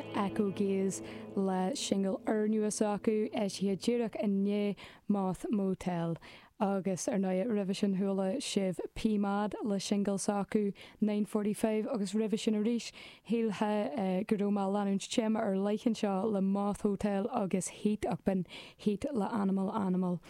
sin Echo Gaze le singil úrnua s'acu, eisithe díreach inné, Moth Motel. Agus ar ndóigh roimhe sin chuala sibh P Mad le singil s'acu, 9:45 agus roimhe sin arís shílfeá go raibh mé ag leanúint téama ar leith anseo le Moth Hotel agus Heat ach b'in Heat le Animal Animal.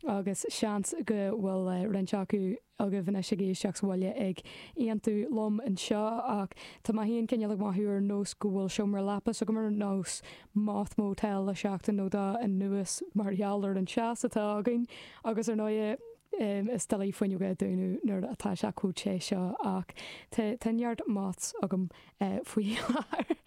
Agus seans go bhfuil roinnt acu agaibh anois ag éisteacht sa bhaile ag aontú liom anseo ach tá mé féin cineál ag mothú ar nós go bhfuil seomra leapa s'agam ar nós Moth Motel le seachtain nó dó anuas mar gheall ar an teas atá againn agus ar ndóigh is doiligh fuinneoga a dúnadh nuair atá sé chomh te seo ach tá neart moths agam faoi láthair.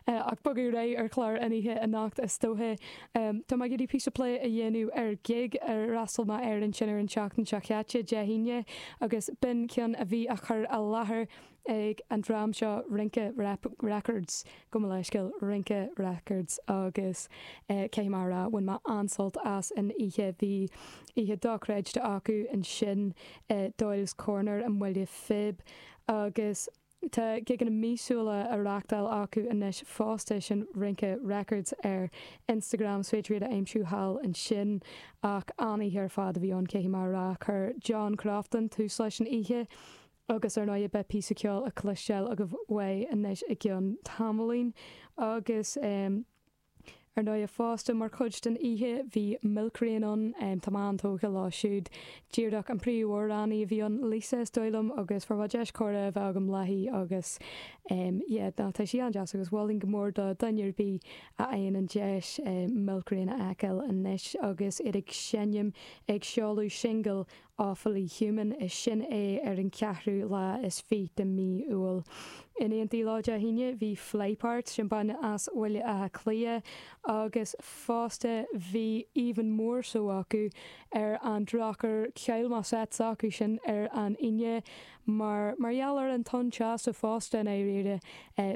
Ach bogadh ar aghaidh ar chlár an oíche anocht is dóiche. Tá mé ag iarraidh píosa plé a dhéanamh ar ghig ar fhreastail mé air ansin ar an tseachtain seo chaite, Dé hAoine, agus b'in ceann a bhí á chur i láthair ag an dream seo Rince Records, gabh mo leithscéal, Rince Records agus caithfidh mé a rá, bhain mé an-sult as an oíche. Bhí oíche dochreidte acu ansin i Doyle's Corner i mBaile Phib agus. Tá gigeanna míosúla á reáchtáil acu anois fosta, sin Rince Records ar Instagram, is féidir iad a aimsiú thall ansin. Ach an-oíche ar fad a bhí ann, caithfidh mé a rá. Chuir John Crofton tús leis an oíche agus ar ndóigh beidh píosa ceoil á chloisteáil agaibh uaidh anois i gceann tamaillín. Agus. Ar ndóigh fosta, mar chuid den oíche, bhí Milk Rain ann. Tá mé an-tógtha leo siúd. Díreach an príomhamhránaí a bhí ann, Lisa is dóigh liom, agus fuair mé deis comhrá a bheith agam léi agus yeah, ná tá sí an-deas agus mholfainn go mór do dhuine ar bith a fhaigheann an deis Milk Rain a fheiceáil anois agus iad ag seinm ag seoladh singil Awfully Human, is sin é ar an cheathrú lá is fiche de mhí Iúil. In éindí leo Dé hAoine bhí Flyparts, sin banna as Bhaile Átha Cliath, agus fosta bhí Even More So acu ar an drochuair chaill mé set s'acu sin ar an Aoine mar mar gheall ar an tonn teasa fosta i ndáiríre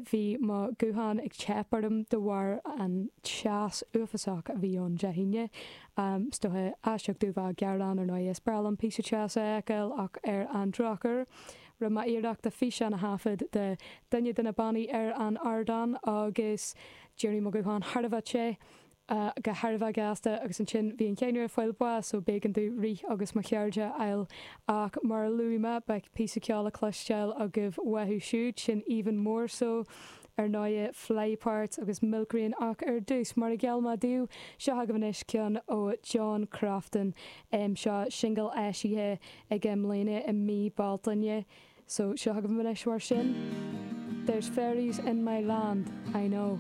bhí mo ghuthán ag teip orm de bharr an teas uafásach a bhí ann Dé hAoine. Is dócha aisteach domh bheith ag gearán ar ndóigh, is breá liom píosa teasa a fheiceáil ach ar an drochuair, rinne mé iarracht de físeán a thaifead de duine de na bannaí ar an ardán agus d'éirigh mo ghuthán thar a bheith te go thar a bheith gasta agus ansin bhí an ceamara ag fáil bháis so b'éigean domh rith agus mo chairde a fháil ach mar a luaigh mé beidh píosa ceoil le cloisteáil agaibh uathu siúd, sin Even More So. Ar ndóighe, Flyparts agus Milk Rain ach ar dtús, mar a gheall mé daoibh, seo agaibh anois ceann ó John Crofton. Seo singil eisithe aige i mbliana i mí Bealtaine. So, seo agaibh anois mar sin, There's Fairies in My Land, I Know.